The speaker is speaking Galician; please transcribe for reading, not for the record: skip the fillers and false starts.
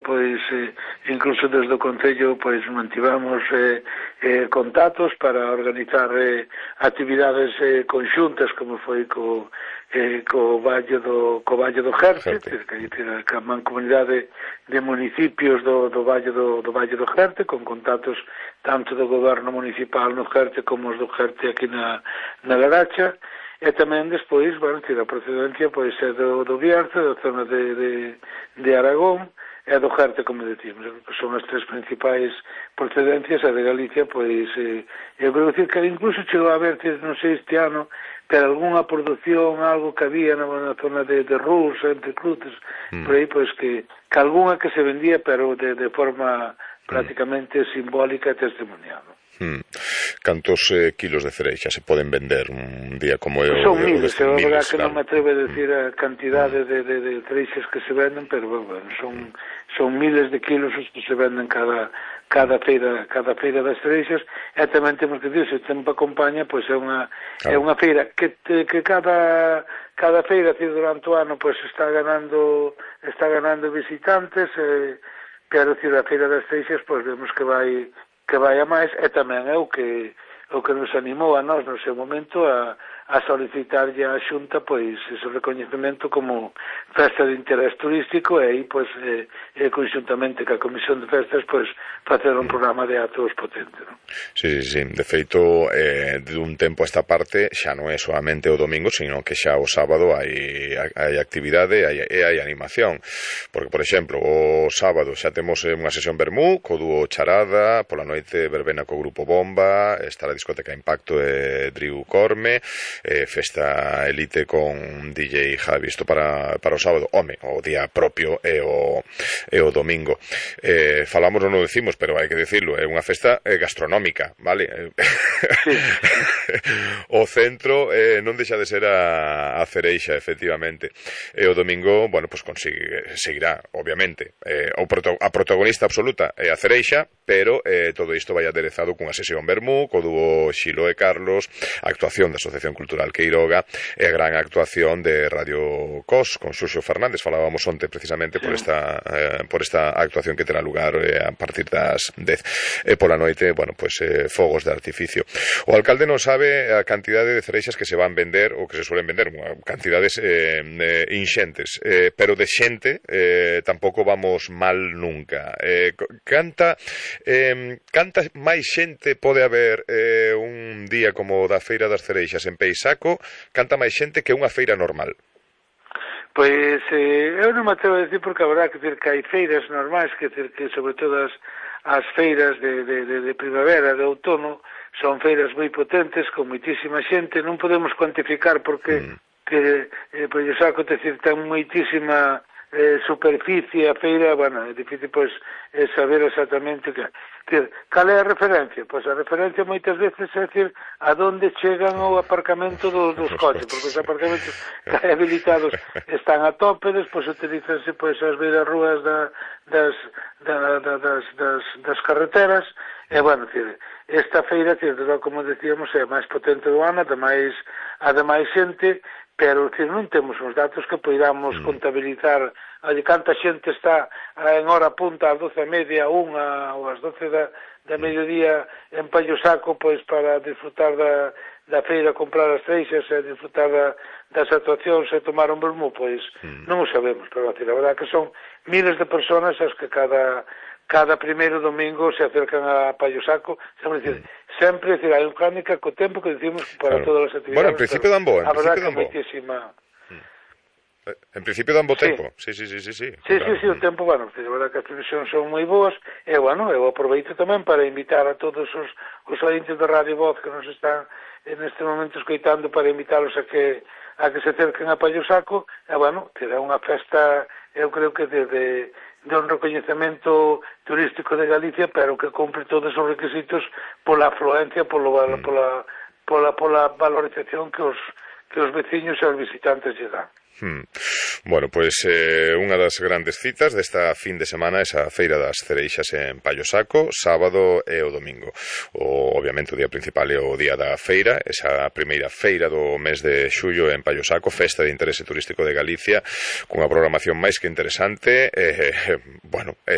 pois incluso desde o Concello pois mantivamos contactos para organizar actividades conxuntas como foi co Valle do Jerte, que a mancomunidade de municipios do Valle do Jerte, con contactos tanto do goberno municipal no Jerte como os do Jerte aquí na Laracha. E tamén despois, bueno, a procedencia pois é do Bierzo, da zona de Aragón, e do Jerte, como decimos, que son as tres principais procedencias, a de Galicia, pois, eu creo que incluso chegou a haber, non sei este ano, pero algunha produción, algo que había na zona de Rus, entre Cruces, por aí, pois, que algunha que se vendía, pero de forma prácticamente simbólica e testimonial. Cantos kilos de cereixa se poden vender un día como é son miles, é verdad que non me atrevo a decir a cantidade de cereixas que se venden, pero bueno, son miles de kilos os que se venden cada feira das cereixas. E tamén temos que dicir, se o tempo acompaña, pois é unha feira que cada feira durante o ano pois está ganando visitantes, pero a feira das cereixas pois vemos que vai a máis, e tamén é o que nos animou a nós no seu momento a solicitarlle á Xunta pois ese recoñecemento como festa de interés turístico, e aí pois conxuntamente ca Comisión de Festas pois facer un programa de actos potente, non? Sí, de feito de un tempo a esta parte xa non é solamente o domingo, sino que xa o sábado hai actividade e hai animación, porque por exemplo o sábado xa temos unha sesión vermú co dúo Charada, pola noite verbena co grupo Bomba, está a discoteca Impacto e Driu Corme, festa elite con DJ Javi, isto para o sábado. O día propio é o domingo. Falamos, non o decimos, pero hai que decirlo, é unha festa gastronómica, vale? Sí. O centro non deixa de ser a cereixa, efectivamente. E o domingo, bueno, pues seguirá, obviamente. A protagonista absoluta é a cereixa, pero todo isto vai aderezado cunha sesión vermú, co dúo Xilo e Carlos, a actuación da Asociación Cultural Queiroga e a gran actuación de Radio Cos con Xuxo Fernández. Falábamos onte precisamente por esta actuación que terá lugar a partir das 10. E pola noite, bueno, pues fogos de artificio. O alcalde non sabe a cantidade de cereixas que se van vender ou que se suelen vender, cantidades inxentes, pero de xente tampouco vamos mal nunca. Canta máis xente pode haber un día como o da Feira das Cereixas en Peixaco, canta máis xente que unha feira normal? Pois eu non me atrevo a decir, porque a verdad que hai feiras normais, que sobre todo as feiras de primavera, de outono, son feiras moi potentes, con moitísima xente, non podemos cuantificar porque pois o saco ten moitísima superficie a feira, bueno, é difícil pois saber exactamente cal é a referencia. Pois a referencia moitas veces é decir a donde chegan o aparcamento dos coches, porque os aparcamentos habilitados están a tope, despois utilizanse pois as beiras rúas das carreteras, e bueno, esta feira, como decíamos, é a máis potente do ano, ademais xente, pero non temos os datos que poidamos contabilizar canta xente está en hora punta ás 12:30, ou ás 12 da mediodía en Pallosaco, pois para disfrutar da feira, comprar as cereixas e disfrutar das actuacións e tomar un vermú, pois non o sabemos, pero a verdade que son miles de personas as que cada primeiro domingo se acercan a Pallosaco, sempre hai un crónica co tempo que decimos para todas as actividades. Bueno, en principio dan bo, a verdade que moitísima. En principio dan bo tempo. Sí, o tempo, bueno, a verdade que as previsións son moi boas, e bueno, eu aproveito tamén para invitar a todos os ointes da Radio Voz que nos están neste momento escoitando, para invitarlos a que se acerquen a Pallosaco, e bueno, terá unha festa, eu creo que de un recoñecemento turístico de Galicia, pero que cumpre todos os requisitos pola afluencia, pola valorización que os veciños e os visitantes lle dan. Bueno, pois unha das grandes citas desta fin de semana é a Feira das Cereixas en Pallosaco, sábado e o domingo. Obviamente o día principal é o día da feira, esa primeira feira do mes de xullo en Pallosaco, festa de interese turístico de Galicia, cunha programación máis que interesante, bueno,